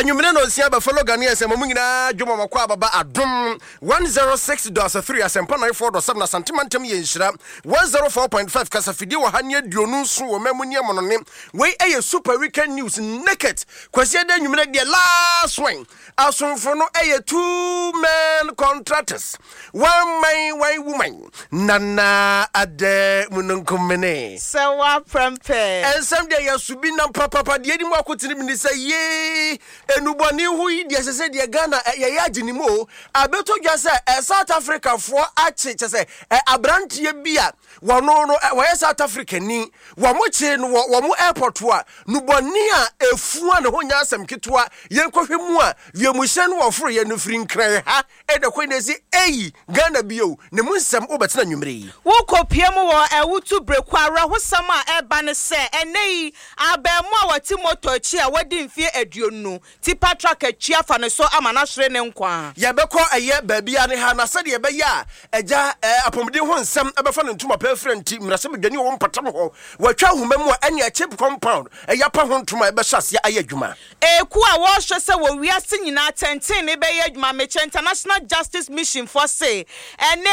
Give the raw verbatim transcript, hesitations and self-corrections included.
Anwummere na osia bɛ fellow Ghanaians, mo mu nyinaa dwom ɔmɔkɔ ababa Adom one oh six point three, Asɛmpa ninety-four point seven, Asantema ntam yɛ nhyira one oh four point five, kasafidie wɔ ha ne aduonu nson wɔ mamu ne ɛmɔnɔne. Wei ɛyɛ Super Weekend News Naked Kwasi Ɛda anwummere deɛ last one. Asomfo no ɛyɛ two men contractors, one man, one woman. Nana Adɛ Mununkumene. Sɛ woaprɛmpɛ. Ɛnsɛm deɛ yɛso bi nam papapa deɛ anim akotene bi ne sɛ yee enubɔne ho yi deɛ sɛ sɛ deɛ Ghana ɛ, yɛyɛ agye ne mu o. Abɛtɔ dwa sɛ ɛ, South Africafoɔ akye kyɛ sɛ ɛ, aberanteɛ bi a wɔno no ɛ, wɔyɛ South Africa ni, wɔn kye no wɔ wɔn airport a nubɔne a efua ne ho nyɛ asɛm ketewa. Yɛnkɔhwɛ mu a wiemhyɛn no wɔforo yɛ no firi Nkran ha ɛda kwan na ɛsi eyi Ghana bio ne mu nsɛm wobɛtena nwumere yi. Wokɔpie mu wɔ Ɛwotu Bereko, awerɛhosɛm a ɛba ne sɛ ɛnɛ yi abaamu a wɔte moto akyi a wɔdi mfeɛ aduonu tipper truck akyi afa ne so ama no ahwere ne nkwa. Yɛbɛkɔ ɛyɛ baabi a ne ha na sɛdeɛ ɛbɛyɛ a ɛgya ɛɛ apɔmuden ho nsɛm ɛbɛfa ne ntoma pɛ afira nti mmarahyɛbadwani wɔ mpɔtam hɔ wɔatwa ahoma mu a ɛne CHPS compound ɛyɛ apa ho ntoma ɛbɛhyɛ aseɛ ayɛ adwuma. Eku a wɔrehwɛ sɛ wɔ wiase nyinaa tɛntɛn ne bɛyɛ adwuma mekyɛ International Justice Mission foɔ se ɛne